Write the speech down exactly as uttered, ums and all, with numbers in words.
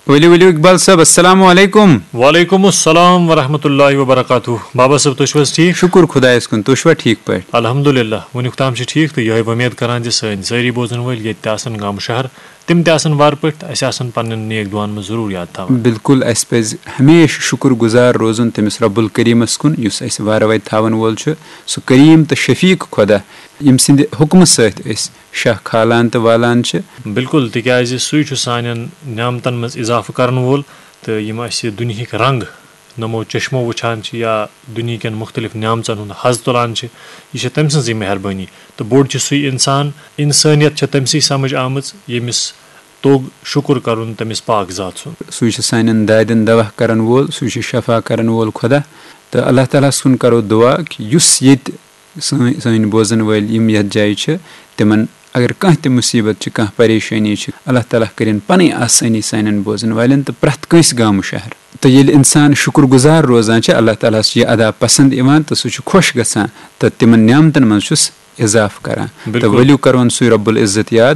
ؤلِو ؤلِو اقبال صٲب، السلام علیکم۔ وعلیکم السلام ورحمۃ اللہ وبرکاتہ۔ بابا صٲب، تُہۍ چھِو حظ ٹھیٖک؟ شُکُر خۄدایَس کُن، تُہۍ چھِوا ٹھیٖک پٲٹھۍ؟ الحمدللہ، وٕنیُک تام چھِ ٹھیٖک، تہٕ یِہوٚے وۄمید کران زِ سٲنۍ سٲری بوزَن وٲلۍ ییٚتہِ تہِ آسَن گامہٕ شہر، تِم تہِ آسَن وارٕ پٲٹھۍ، تہٕ اَسہِ آسَن پنٛنٮ۪ن نیک دُعَن منٛز ضروٗر یاد تھاوان۔ بِلکُل، اَسہِ پَزِ ہمیشہِ شُکُر گُزار روزُن تٔمِس رب الکریٖمَس کُن، یُس اَسہِ وارٕ وَتہِ تھاوَن وول چھُ، سُہ کریٖم تہٕ شفیق خۄدا، ییٚمہِ سٕنٛدِ حُکمہٕ سۭتۍ أسۍ شاہ کھالان تہٕ والان چھِ۔ بِلکُل، تِکیٛازِ سُے چھُ سانٮ۪ن نعمتَن منٛز اضافہٕ کرَن وول، تہٕ یِم اَسہِ دُنہِکۍ رنٛگ نمو چشمو وٕچھان چھِ یا دُنہِکٮ۪ن مُختلف نعمژَن ہُنٛد حظ تُلان چھِ، یہِ چھِ تٔمۍ سٕنٛزٕے مہربٲنی۔ تہٕ بوٚڑ چھُ سُے اِنسان، اِنسٲنیت چھےٚ تٔمۍ سٕے سمجھ آمٕژ، ییٚمِس توٚگ شُکُر کرُن تٔمِس پاک ذات سُنٛد۔ سُے چھُ سانٮ۪ن دادٮ۪ن دوا کرن وول، سُے چھُ شفا کرن وول خۄدا۔ تہٕ اللہ تعالیٰ ہَس کُن کرو دُعا کہِ یُس ییٚتہِ سٲنۍ سٲنۍ بوزن وٲلۍ یِم یَتھ جایہِ چھِ، تِمن اگر کانٛہہ تہِ مُصیٖبت چھِ، کانٛہہ پریشٲنی چھِ، اللہ تعالیٰ کٔرِن پنٕنۍ آسٲنی سانٮ۪ن بوزن والٮ۪ن تہٕ پرٛٮ۪تھ کٲنٛسہِ گامہٕ شہر۔ تہٕ ییٚلہِ اِنسان شُکُر گُزار روزان چھِ، اللہ تعالیٰ ہَس چھُ یہِ ادا پسنٛد یِوان تہٕ سُہ چھُ خۄش گژھان تہٕ تِمن نعمتن منٛز چھُس اضافہٕ کران۔ تہٕ بِلکُل۔ ؤلِو کرون سُے رب العزت یاد۔